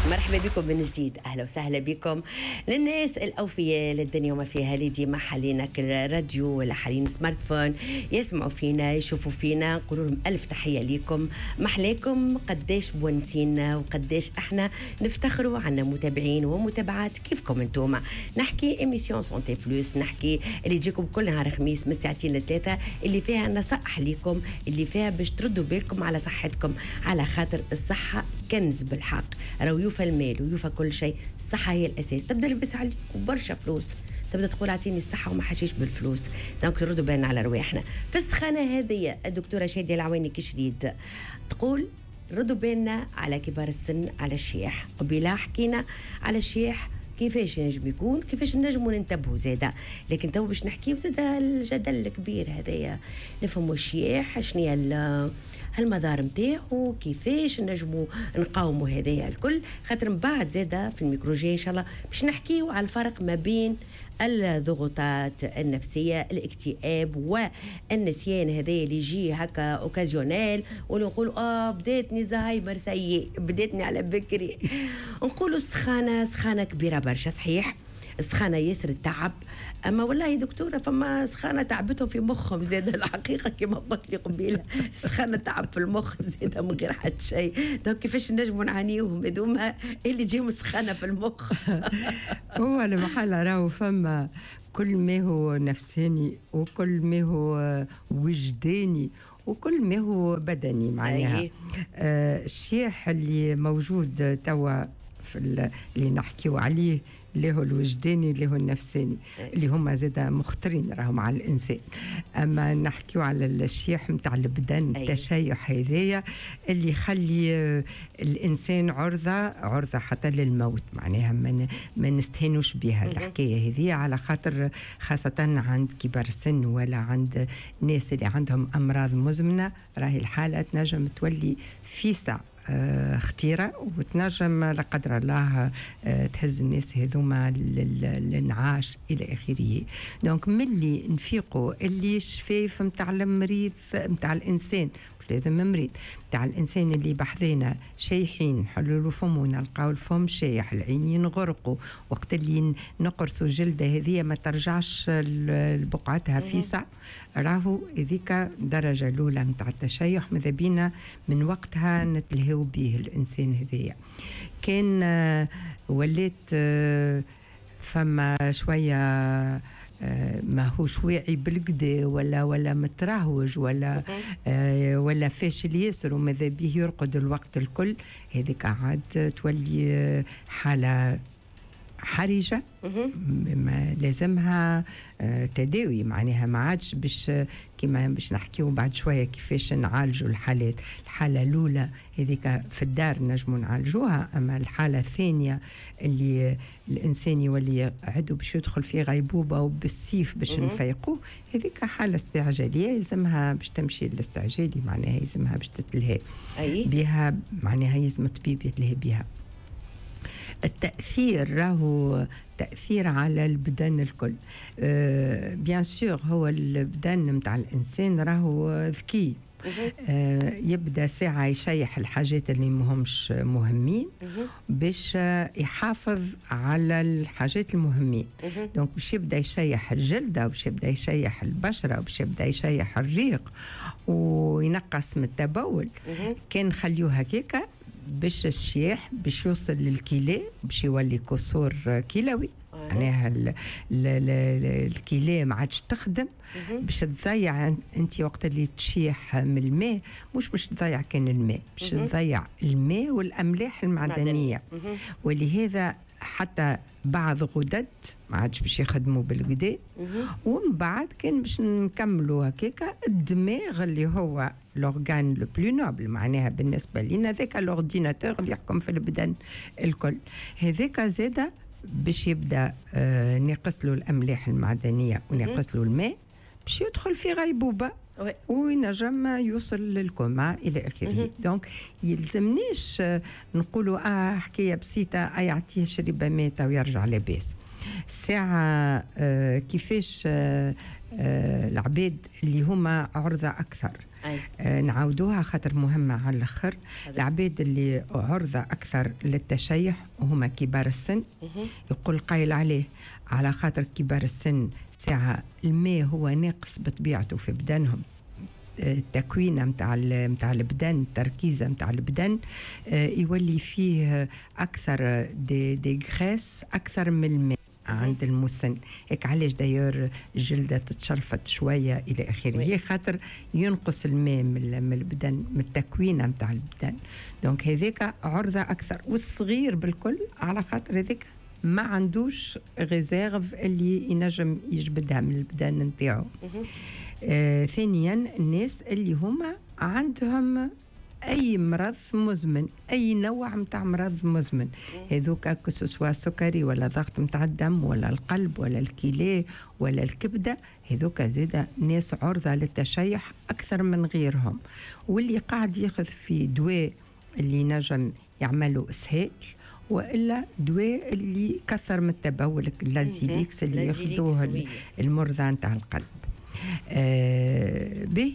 مرحبا بكم من جديد، اهلا وسهلا بكم للناس الاوفياء للدنيا وما فيها، اللي ديما حالين راديو ولا حالين smartphone يسمعوا فينا يشوفوا فينا، نقول لهم الف تحية ليكم، محلاكم قداش مونسينا وقداش احنا نفتخروا عنا متابعين ومتابعات كيفكم انتوما. نحكي émission santé plus، نحكي اللي تجيكم كل نهار خميس من ساعتين لثلاثه، اللي فيها نصائح ليكم، اللي فيها باش تردوا بالكم على صحتكم، على خاطر الصحة كنز بالحق، راهو يوفى المال ويوفى كل شيء، الصحة هي الأساس. تبدا لبس عليك برشا فلوس، تبدا تقول اعطيني الصحة وما حاجيش بالفلوس. donc نردوا بالنا على رواحنا في السخانة هذه. الدكتورة شادية العواني كشريد تقول ردوا بالنا على كبار السن، على الشياح. قبيلة حكينا على الشياح كيفاش ينجم يكون، كيفاش نجموا ننتبهوا زاده، لكن تو باش نحكيو زاده الجدل الكبير هذايا، نفهموا الشياح شنو هي المضار نتاعو، كيفاش نجموا نقاوموا هذايا الكل، خاطر من بعد زاده في الميكروجي ان شاء الله باش نحكيو على الفرق ما بين الضغوطات النفسية، الاكتئاب والنسيان هذا اللي يجي هكا occasionnel، ونقول بداتني زهايمر سيء، بداتني على بكري. نقولوا السخانه سخانه كبيرة برشا، صحيح السخانة ياسر التعب، أما والله دكتورة فما سخانة تعبتهم في مخهم زاد الحقيقة، كما قلت لي قبيلة سخانة تعب في المخ زاد من غير حتى شيء. donc كيفاش نجموا نعانيوهم هذوما اللي تجيهم سخانة في المخ؟ هو المحل راهو فما كل ما هو نفساني وكل ما هو وجداني وكل ما هو بدني معناها. الشيح اللي موجود توا في اللي نحكيو عليه، اللي هو الوجداني اللي هو النفساني، اللي هما زادا مخطرين راهم على الانسان. اما نحكيو على الشيح نتاع البدن، التشيح هذايا اللي يخلي الانسان عرضه حتى للموت، معناها ما نستهانوش بها الحكاية هذه، على خاطر خاصة عند كبار السن ولا عند الناس اللي عندهم امراض مزمنه، راهي الحالة تنجم تولي في ساعة خطيرة، وتنجم لا قدر الله تهز الناس هذوما للانعاش الى اخره. donc ملي نفيقوا اللي الشفايف نتاع المريض نتاع الانسان، مش لازم مريض، نتاع الانسان اللي بحذينا شايحين، نحلوا فمه نلقاو الفم شايح، العينين غرقوا، وقت اللي نقرصوا الجلدة هذه ما ترجعش لبقعتها فيسع، راهو هذيك درجه الاولى نتاع التشيح، ماذا بينا من وقتها نتلهاو به الانسان هذايا. كان وليت فما شوية ماهوش واعي بالقدا ولا مترهوج ولا فاشل ياسر وماذا به يرقد الوقت الكل، هذيك عاد تولي حاله حرجه ما لازمها تداوي، معناها ما عادش باش كيما باش نحكيو بعد شوية كيفاش نعالجوا الحالات. الحالة الاولى هذيك في الدار نجموا نعالجوها، اما الحالة الثانية اللي الانسان يولي عدو باش يدخل في غيبوبة وبالسيف باش نفيقوه، هذيك حاله استعجاليه يلزمها باش تمشي للاستعجالي، معناها يلزمها باش تتلهي بها، معناها يلزم الطبيب يتلهي بها. التأثير راهو تأثير على البدن الكل، bien sûr هو البدن متاع الإنسان راهو ذكي، يبدا ساعة يشيح الحاجات اللي مهمش مهمين باش يحافظ على الحاجات المهمين. donc باش يبدا يشيح الجلدة، باش يبدا يشيح البشرة، باش يبدا يشيح الريق وينقص من التبول. كان نخليوه هكاكا باش الشياح باش يوصل للكلى، باش يولي قصور كلوي، معناها الكلى ما عادش تخدم، باش تضيع انت وقت اللي تشيح من الماء، مش باش تضيع كان الماء، باش تضيع الماء والاملاح المعدنية، ولهذا حتى بعض غدد ما عادش باش يخدموا بالغدا. ومن بعد كان باش نكملوا هكاكا الدماغ اللي هو l'organe le plus noble، معناها بالنسبة لنا ذاك l'ordinateur اللي يحكم في البدن الكل، هذاك زاده باش يبدا ناقص له الاملاح المعدنية وناقص له الماء، باش يدخل في غيبوبة وينجم يوصل للكوما الى اخره. donc يلزمنيش نقولوا حكاية بسيطة، يعطيه شريبه ماء ويرجع لاباس. الساعة كيفاش العباد اللي هما عرضة أكثر. نعاودوها خاطر مهمة على الآخر. العباد اللي عرضة أكثر للتشيح وهما كبار السن. يقول قايل عليه على خاطر كبار السن ساعة الماء هو ناقص بطبيعته في بدنهم، التكوين متاع البدن، التركيزة متاع البدن يولي فيه أكثر des graisses أكثر من الماء عند المسن. هيك علاش d'ailleurs الجلدة تتشلفت شوية إلى آخره، خاطر ينقص الماء من البدن، من التكوين متاع البدن. donc هذاك عرضة أكثر. والصغير بالكل على خاطر هذاك ما عندوش réserve اللي ينجم يجبدها من البدن نتاعو. ثانيا الناس اللي هما عندهم اي مرض مزمن، اي نوع متاع مرض مزمن، هذوك que ce soit سكري ولا ضغط متاع الدم ولا القلب ولا الكلى ولا الكبده، هذوك زاده ناس عرضه للتشيح اكثر من غيرهم. واللي قاعد ياخذ في دواء اللي نجم يعملوا اسهال، والا دواء اللي كثر من التبول، Lasilix اللي ياخذوه المرضى نتاع القلب. به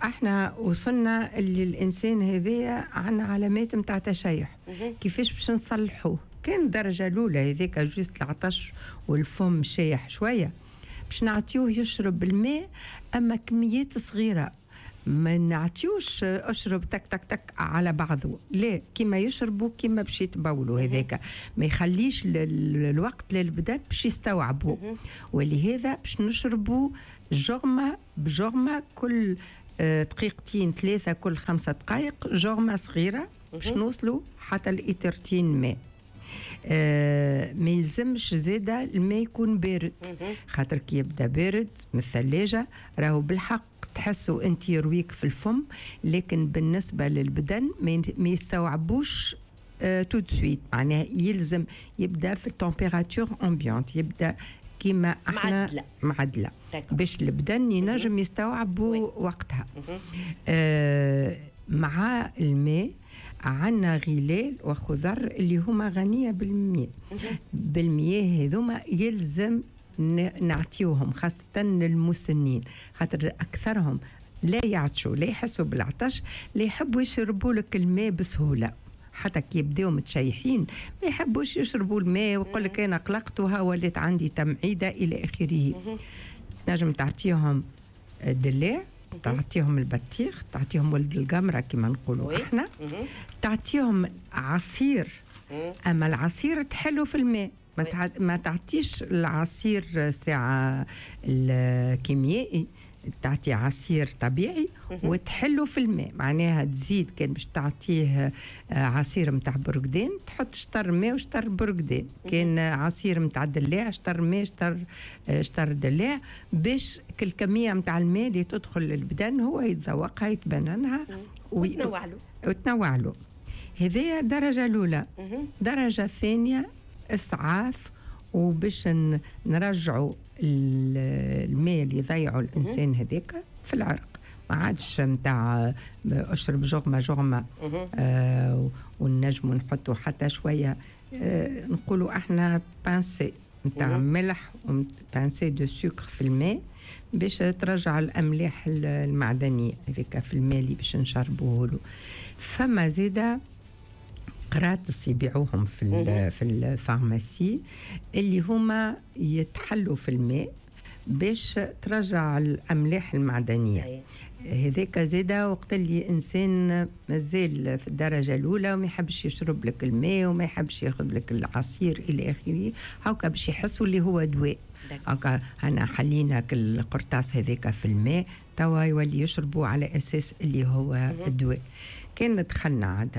احنا وصلنا اللي الانسان هذايا عندنا علامات نتاع تشيح. كيفاش باش نصلحوه؟ كان الدرجة الاولى هذاك juste العطش والفم شايح شوية، باش نعطيوه يشرب الماء اما كميات صغيرة، ما نعطيوش اشرب تك تك تك على بعضه، لا كيما يشربوا كيما باش يتبولوا. هذاك ما يخليش الوقت للبدن باش يستوعبوا. ولهذا باش نشربوا جغمه بجغمه كل دقيقتين ثلاثة، كل 5 دقائق جغمه صغيرة باش نوصلوا حتى الإترتين ماء. ما يلزمش زاده الماء يكون بارد، خاطر كي يبدا بارد من الثلاجة راهو بالحق تحسوا انت يرويك في الفم، لكن بالنسبة للبدن ما يستوعبوش tout de suite. معناها يلزم يبدا في ال température ambiante، يبدا كيما احنا معدله باش البدن ينجم يستوعبوا وقتها. مع الماء عندنا غلال وخضر اللي هما غنية بالمياه. بالمياه هذوما يلزم نعطيوهم خاصة للمسنين، خاطر أكثرهم لا يعطشوا، لا يحسوا بالعطش، لا يحبوا يشربوا لك الماء بسهولة. حتى كي يبداو متشيحين ما يحبوش يشربوا الماء ويقول لك أنا قلقت وها وليت عندي تمعيدة إلى آخره. نجم تعطيهم الدلاع، تعطيهم البطيخ، تعطيهم ولد القمرة كما نقولوا احنا، تعطيهم عصير، أما العصير تحلو في الماء، ما تعطيش العصير ساعة الكيميائي، تعطي عصير طبيعي وتحله في الماء. معناها تزيد كان باش تعطيه عصير متاع برقدين تحط شطر ماء وشطر برقدين، كان عصير متاع دلاع شطر ماء شطر دلاع، باش كل كمية متاع الماء اللي تدخل للبدن هو يتذوقها يتبننها وتنوع له. هذه الدرجة الأولى. درجة ثانية إسعاف، وباش نرجعوا الماء اللي يضيعوا الانسان هذاك في العرق، ما عادش نتاع اشرب جغمه جغمه. ونجموا نحطوا حتى شوية نقولوا احنا pincée نتاع ملح و pincée de sucre في الماء باش ترجع الاملاح المعدنية هذيك في الماء اللي باش نشربوه له. فما زاده قراطس يبيعوهم في ال pharmacie اللي هما يتحلوا في الماء باش ترجع الاملاح المعدنية. هذاك زاده وقت اللي انسان مازال في الدرجة الاولى وما يحبش يشرب لك الماء وما يحبش ياخذ لك العصير الى اخره، هاكا باش يحسوا اللي هو دواء. هاكا انا حلينا القرطاس هذاك في الماء توا يولي يشربوا على اساس اللي هو الدواء. كان دخلنا عاد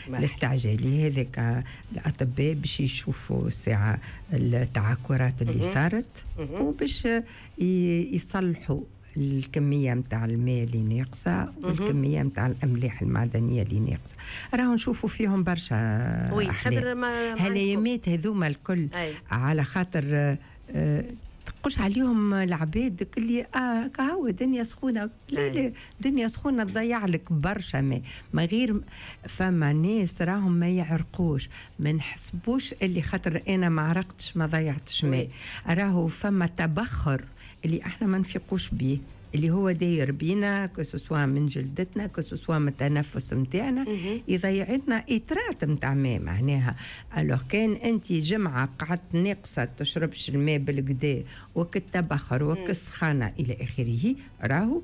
للاستعجالي هذاك الاطباء باش يشوفوا الساعة التعكرات اللي صارت وباش يصلحوا الكمية متاع الماء اللي ناقصه والكميه متاع الاملاح المعدنية اللي ناقصه. راهو نشوفوا فيهم برشا خاطر هالايامات هذوما الكل. على خاطر تقش عليهم العباد اللي كهو دنيا سخونة. لا لا، دنيا سخونة تضيع لك برشا ماء ما غير. فما ناس راهم ما يعرقوش، ما نحسبوش اللي خاطر انا ما عرقتش ما ضيعتش ماء. راهو فما تبخر اللي احنا ما نفيقوش بيه، اللي هو داير بينا، que ce soit من جلدتنا، que ce soit من التنفس نتاعنا، يضيع لنا ايترات نتاع ماء معناها. alors كان انت جمعه قعدت ناقصه تشربش الماء بالقدا وكالتبخر وكالسخانه الى اخره، راهو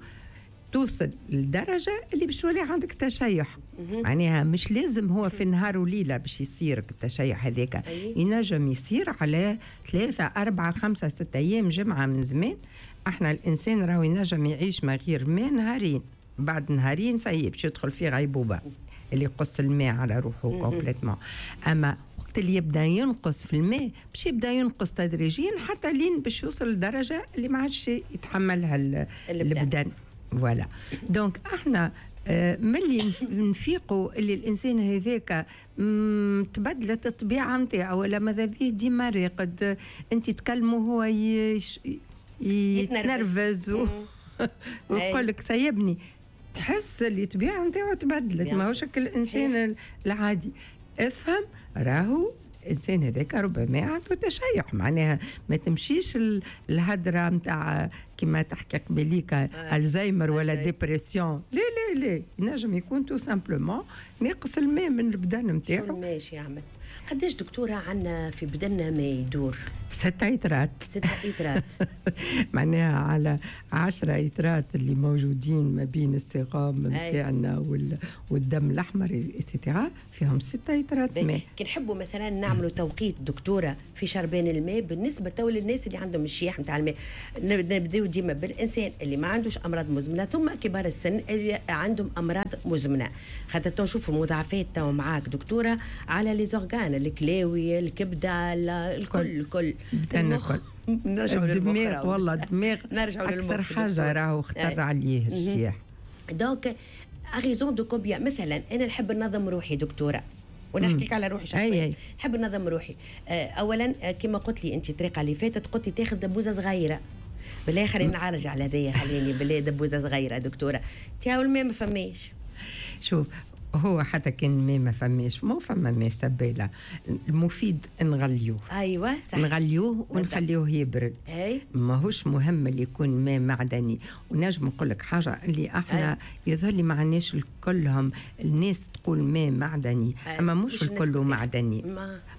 توصل لدرجة اللي باش تولي عندك تشيح. معناها مش لازم هو في نهار وليلة باش يصير التشيح هذاك، ينجم يصير على 3 4 5 6 أيام، جمعة من زمان. احنا الإنسان راهو ينجم يعيش ما غير ماء نهارين، بعد نهارين ça y est باش يدخل في غيبوبة اللي يقص الماء على روحه complètement. أما وقت اللي يبدا ينقص في الماء باش يبدا ينقص تدريجيا حتى لين باش يوصل لدرجة اللي ما عادش يتحملها البدن. voilà، donc احنا ملي نفيقوا اللي الانسان هذاك تبدلت الطبيعة نتاعو، ولا ماذا بيه ديما راقد، انت تكلمه هو يتنرفز ويقول لك سيبني، تحس اللي الطبيعة نتاعو تبدلت، ماهوش الانسان العادي. افهم راهو الانسان هذاك ربما عنده تشيح، معناها ما تمشيش الهدرة نتاع كما تحكي قبليك الزهايمر ولا dépression، لا لا لا، ينجم يكون tout simplement ناقص الماء من البدن نتاعو. شو الماء يعمل؟ قداش دكتورة عندنا في بدننا ما يدور؟ 6 إترات. 6 إترات. معناها على 10 إترات اللي موجودين ما بين السيروم نتاعنا والدم الأحمر et cetera، فيهم 6 إترات ماء. كي نحبوا مثلا نعملوا توقيت دكتورة في شربان الماء بالنسبة تو للناس اللي عندهم الشيح نتاع الماء، نبداو ديما بالإنسان اللي ما عندوش أمراض مزمنة، ثم كبار السن اللي عندهم أمراض مزمنة، خاطر تو نشوفوا مضاعفات تو معاك دكتورة على les organes، الكلاوي، الكبده، الكل الكل، المخ، نرجعوا للمخ. والله الدماغ نرجعوا للمخ اكثر حاجة راهو خطر عليه الشيح. donc à raison de combien مثلا انا نحب ننظم روحي دكتورة، ونحكي لك على روحي شخصيا، نحب ننظم روحي. اولا كما قلت لي انت الطريقة اللي فاتت، قلت لي تاخذ دبوزه صغيرة، بالله خلينا نعرج على هذايا، خليني بالله دبوزه صغيرة دكتورة، تاو الماء ما فماش. شوف هو حتى كان ماء ما فماش، مو فما ماء سبالة، المفيد نغليوه. ايوه صح، نغليوه ونخليوه يبرد. ماهوش مهم اللي يكون ماء معدني. ونجم نقول لك حاجة اللي احنا يظهر لي ما عندناش كلهم، الناس تقول ماء معدني، اما مش الكل معدني،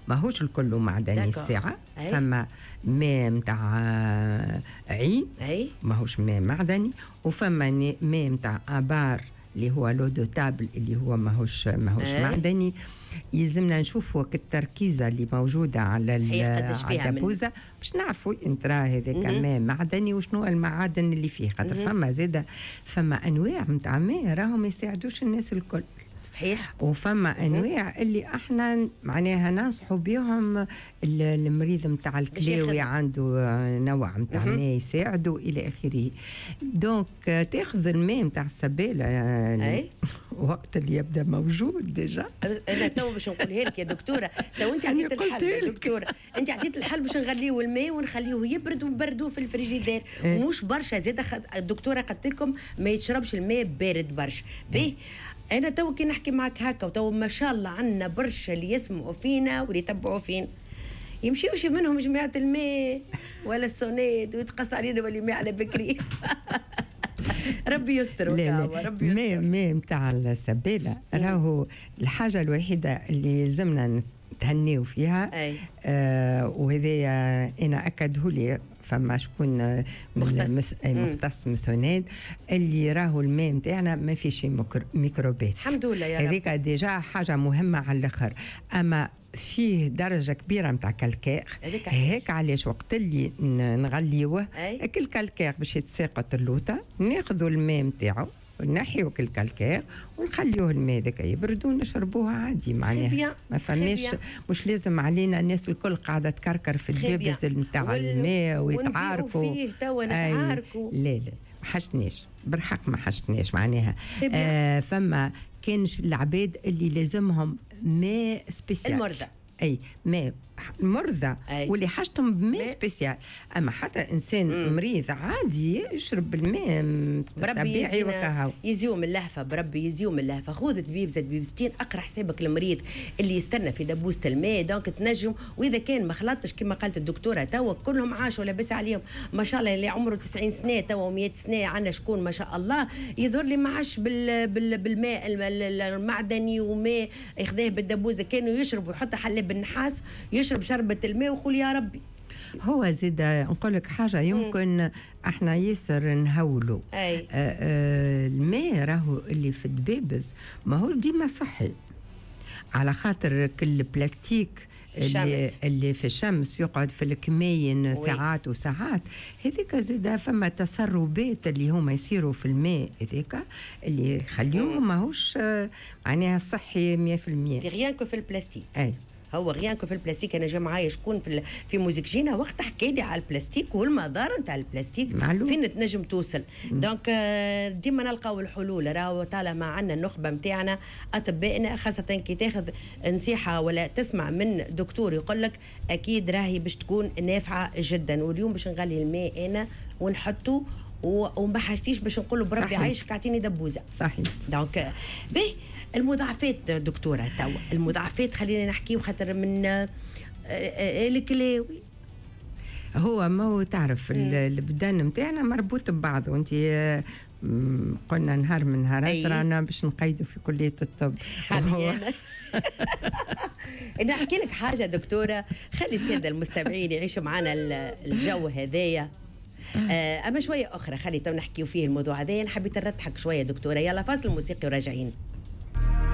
ماهوش الكل معدني. الساعة فما ماء نتاع عين ماهوش ماء معدني، وفما ماء نتاع ابار اللي هو l'eau de table اللي هو ماهوش معدني. يلزمنا نشوفوا التركيزه اللي موجودة على الدبوزه باش نعرفوا انت راه هذاك ماء معدني وشنو المعادن اللي فيه، خاطر فما زاده فما انواع نتاع ماء راهم ما يساعدوش الناس الكل. صحيح. وفما انواع اللي احنا معناها ننصحوا بهم المريض نتاع الكلاوي عنده نوع نتاع ماء يساعده الى اخره. donc تاخذ الماء نتاع السباله وقت اللي يبدا موجود déjà. انا تو باش نقولها لك يا دكتورة، تو انت عطيت الحل يا دكتورة، انت عطيت الحل باش نغليو الماء ونخليوه يبرد ونبردوه في الفريجيدير، ومش برشا زاده. الدكتورة قالت لكم ما يتشربش الماء بارد برشا. باهي انا تو كي نحكي معك هكا، وتو ما شاء الله عندنا برشا اللي يسمعوا فينا واللي يتبعوا فينا، يمشيوش منهم جماعة الماء ولا السوناد ويتقص علينا ولا ماء على بكري. ربي يستر. ربي يستر. ماء نتاع السباله راهو الحاجة الوحيدة اللي لازمنا نتهنيو فيها. وهذا انا اكده لي فما شكون مختص من سوناد اللي راهو الماء نتاعنا ما فيش ميكروبات. الحمد لله يا رب. هذيك déjà حاجة مهمة على الاخر. اما فيه درجه كبيرة نتاع calcaire، هيك علاش وقت اللي نغليوه كل calcaire باش يتساقط اللوطه، ناخذوا الماء نتاعو نحيو ال calcaire ونخليوه الماء ذاك يبرد ونشربوه عادي. معناها ما فماش، مش لازم علينا الناس الكل قاعدة تكركر في الدبابز نتاع الماء ويتعاركوا فيه توا نتعاركوا. لا لا ما حشتناش بالحق، ما حشتناش معناها. فما كانش العباد اللي لازمهم ماء spécial، المرضى اي ماء المرضى واللي حاجتهم بماء spécial. اما حتى انسان مريض عادي يشرب الماء طبيعي وكهو. يزيو من اللهفه، بربي يزيو من اللهفه. خذ دبيبزه دبيبزتين، اقرا حسابك المريض اللي يستنى في دبوسه الماء. donc تنجم، واذا كان ما خلطتش كما قالت الدكتورة توا كلهم عاشوا لاباس عليهم ما شاء الله، اللي عمره 90 سنة توا و100 سنة عندنا شكون ما شاء الله يظهر لي ما عاش بالماء المعدني وماء ياخذاه بالدبوزه، كانوا يشربوا يحط حلاب بالنحاس يشرب شربة الماء ويقول يا ربي. هو زيد نقول لك حاجة يمكن احنا ياسر نهولوا الماء راهو اللي في الدبابز ما هو ديما صحي، على خاطر كل بلاستيك اللي في الشمس يقعد في الكماين ساعات وساعات، هذيك زاد فما تسربات اللي هما يصيروا في الماء هذيك اللي يخليوه ماهوش معناها صحي 100%. rien que في البلاستيك. اي هو rien que في البلاستيك. انا جا معايا شكون في موزيك جينا وقت حكى لي على البلاستيك والمضار نتاع البلاستيك فين تنجم توصل. donc ديما نلقاو الحلول. راهو طالما عندنا النخبة نتاعنا اطبائنا، خاصة كي تاخذ نصيحة ولا تسمع من دكتور يقول لك اكيد راهي باش تكون نافعة جدا. واليوم باش نغلي الماء انا ونحطه وما حاجتيش باش نقول له بربي عايشك اعطيني دبوزه. صحيح. donc به المضاعفات دكتورة توا، المضاعفات خلينا نحكيو خاطر من الكلاوي. هو ما هو تعرف البدن نتاعنا مربوط ببعض، وانت قلنا نهار من نهارات رانا باش نقيدوا في كلية الطب. انا احكي لك حاجة دكتورة، خلي السادة المستمعين يعيشوا معنا الجو هذايا. اما شوية اخرى خلي تو نحكيو فيه الموضوع هذايا. حبيت نرتحك شوية دكتورة. يلا فاصل موسيقي وراجعين.